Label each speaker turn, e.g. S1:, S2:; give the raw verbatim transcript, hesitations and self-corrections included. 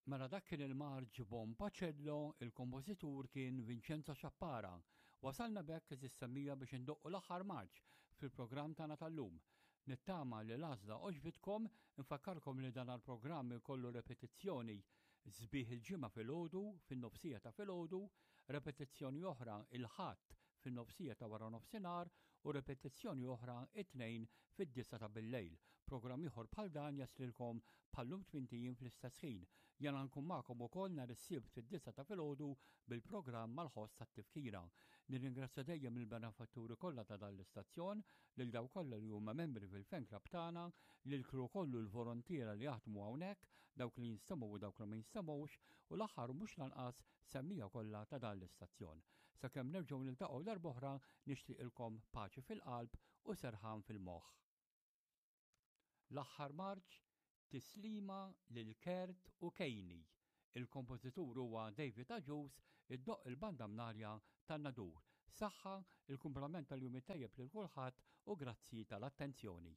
S1: Mela dak kien il-marċ Bon Pacello, il-kompożitur kien Vincenzo Ciappara. Wasalna b'hekk, għeżież semmiegħa, biex indoqqu l-aħħar marċ fil-programm tagħna tal-lum. Nittama li l-għażla għoġbitkom, infakkarkom li dan il-programm ikollu repetizzjoni sbieħ il-Ġimgħa filgħodu, fin-nofsija ta' filgħodu, repetizzjoni oħra il-Ħadd fin-nofsija ta' wara nofsinhar u repetizzjoni oħra it-Tnejn fid-disgħa ta' billejl. Programm ieħor bħal dan jaslilkom bħallum tmint ijiem fl-istess ħin. Jiena nkun magħkom ukoll nhar is-Sibt fid-disgħa ta' filgħodu bil-programm mal-ħoss tat-tifkira. Nirringrazzja dejjem il-benefatturi kollha ta' dan l-istazzjon, lil dawk kollha li huma membri fil-fan club tagħna, lil crew kollu l-volontiera li jaħdmu hawnhekk, dawk li jinstemgħu u dawk li ma jinstemgħux, u l-aħħar mhux lanqas semmiegħa kollha ta' dan l-istazzjon. Sakemm nerġgħu niltaqgħu darb'oħra, nixtieqilkom paċi fil-qalb u serħan fil-moħħ. L-aħħar marċ, Tislima lil Kert u Kejni. Il-kompożitur huwa David Agius, iddoqq il-Banda Mnarja tan-Nadur. Saħħa, il-kumplament tal-jum tajjeb lil kulħadd u grazzi tal-attenzjoni.